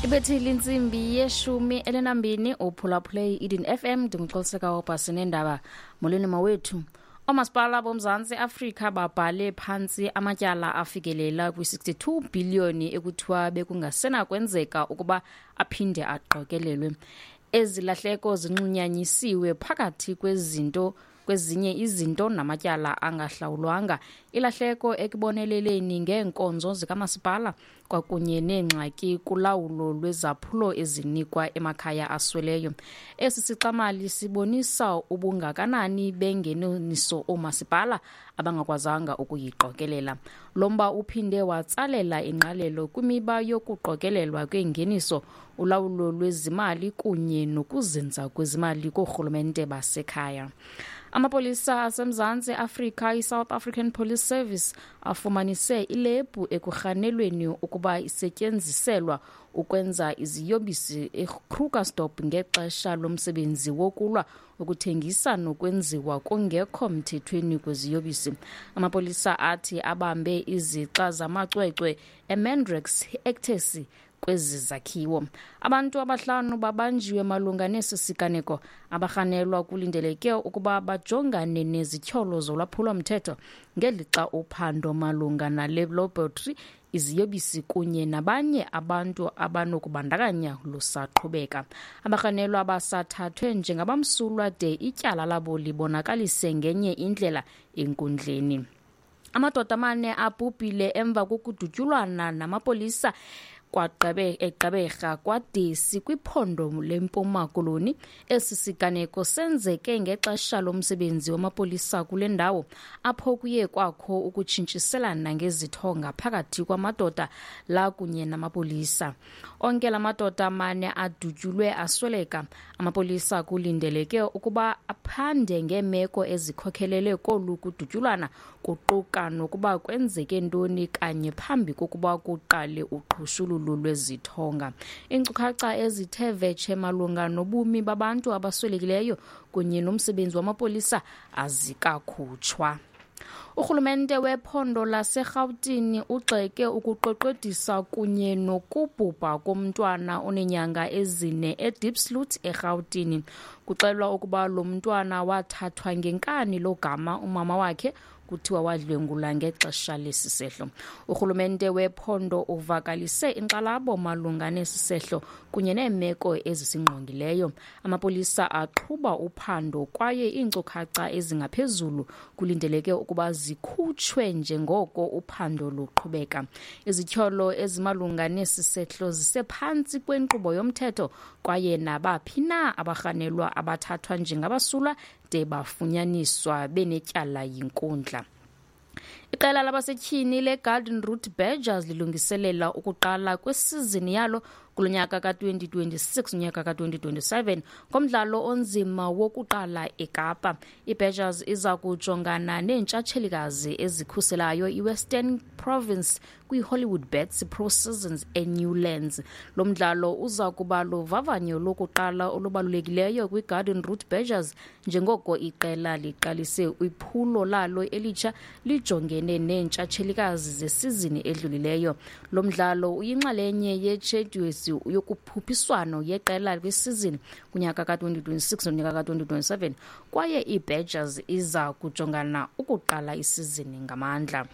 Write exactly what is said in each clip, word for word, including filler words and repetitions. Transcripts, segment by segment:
Ibethile intsimbi yeshumi elinambini, uphulaphule i-Eden F M. Ndinguxoliseka wobhasi neendaba. Molweni mawethu. Oomasipala boMzantsi Afrika babhale phantsi amatyala afikelela kwi-sixty-two bhiliyoni ekuthiwa bekungasenakwenzeka ukuba aphinde aqokelelwe. Ezi lahleko zinxunyanyisiwe phakathi kwezinto kwezinye izinto namatyala angahlawulwanga, ilahleko ekuboneleleni ngeenkonzo zikamasipala kwakunye neengxaki kulawulo lwezaphulo ezinikwa emakhaya asweleyo. Esi sixamali sibonisa ubungakanani bengeniso oomasipala abangakwazanga ukuyiqokelela. Lo mba uphinde watsalela ingqalelo kwimiba yokuqokelelwa kwengeniso, ulawulo lwezimali kunye nokuzinza kwezimali koorhulumente basekhaya. Amapolisa aseMzantsi Afrika, iSouth African Police Service, afumanise ilebhu ekurhanelweni ukuba isetyenziselwa ukwenza iziyobisi eKrugersdorp ngexesha lomsebenzi wokulwa ukuthengisa nokwenziwa kungekho mthethweni kweziyobisi. Amapolisa athi abambe izixa zamacwecwe eMandrax, ecstasy kwezi zakhiwo. Abantu abahlanu babanjiwe malunga nesi siganeko. Abarhanelwa kulindeleke ukuba bajongane nezityholo zolwaphulo-mthetho ngelixa uphando malunga nale laboratory, iziyobisi kunye nabanye abantu abanokubandakanya lusaqhubeka. Abarhanelwa basathathwe njengabamsulwa de ityala labo libonakalise ngenye indlela enkundleni. Amadoda amane abhubhile emva kokudutyulwana namapolisa kwagqebe eGqeberha kwaDesi kwiphondo leMpuma Koloni. Esi siganeko senzeke ngexesha lomsebenzi wamapolisa kule ndawo, apho kuye kwakho ukutshintshiselana ngezithonga phakathi kwamadoda la kunye namapolisa. Onke la madoda mane adutyulwe asweleka. Amapolisa kulindeleke ukuba aphande ngeemeko ezikhokhelele kolu kudutyulwana, kuquka nokuba kwenzeke ntoni kanye phambi kokuba kuqale uqhushululu lwezithonga. Iinkcukacha ezithe vetshe malunga nobumi babantu abaswelekileyo kunye nomsebenzi wamapolisa azikakhutshwa. Urhulumente wephondo laseRhawutini ugxeke ukuqweqwedisa kunye nokubhubha komntwana oneenyanga ezine eDiepsloot eRhawutini. Kuxelwa ukuba lo mntwana wathathwa ngenkani logama umama wakhe kuthiwa wadlwengula ngexesha lesi sehlo. Urhulumente wephondo uvakalise inkxalabo malunga nesi sehlo kunye neemeko ezisingqongileyo. Amapolisa aqhuba uphando kwaye iinkcukacha ezingaphezulu kulindeleke ukuba zikhutshwe njengoko uphando luqhubeka. Izityholo ezimalunga nesi sehlo zisephantsi kwenkqubo yomthetho kwaye nabaphi na abarhanelwa abathathwa njengabasulwa de bafunyaniswa benetyala yinkundla. Iqela labasetyhini leGarden Route Badgers lilungiselela ukuqala kwesizini yalo kulo nyaka ka-twenty twenty-six unyaka ka-twenty twenty-seven ngomdlalo onzima wokuqala eKapa. IBadgers iza kujongana neentshatshelikazi ezikhuselayo iWestern Province kwiHollywoodbets Pro Seasons eNewlands. Lo mdlalo uza kuba luvavanyo lokuqala olubalulekileyo kwiGarden Route Badgers njengoko iqela liqalise iphulo lalo elitsha lijongene neentshatshelikazi zesizini edlulileyo. Lo mdlalo uyinxalenye yetshedyuli yokukhuphiswano yeqela kwisizini kunyaka ka-twenty twenty-six nonyaka ka-twenty twenty-seven kwaye iBadgers iza kujongana ukuqala isizini ngamandla.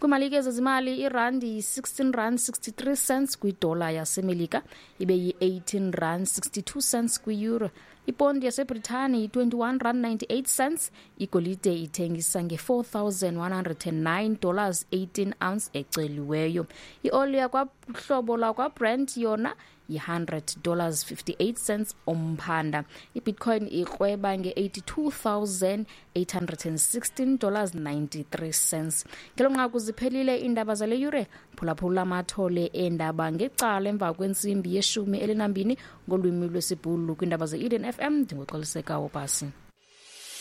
Kwimalike zezimali, irandi yi-sixteen rand sixty-three cents kwidola yaseMelika, ibe yi-eighteen rand sixty-two cents kwi-euro. Ipondi yaseBritani yi-twenty-one rand ninety-eight cents. Igolide ithengisa nge-four thousand one hundred and nine dollars eighteen ounce eceliweyo. Ioli yakwahlobo lakwaBrent yona yi-hundred dollars fifty-eight cents umphanda. IBitcoin ikrweba nge-eighty-two thousand eight hundred and sixteen dollars ninety-three cents. Ngelo nqaku ziphelile iindaba zale yure. Phulaphula amathole eendaba ngecala emva kwentsimbi yeshumi elinambini ngolwimi lwesiBhulu kwiindaba ze-Eden F M. Ndinguxoliseka Wobhasi.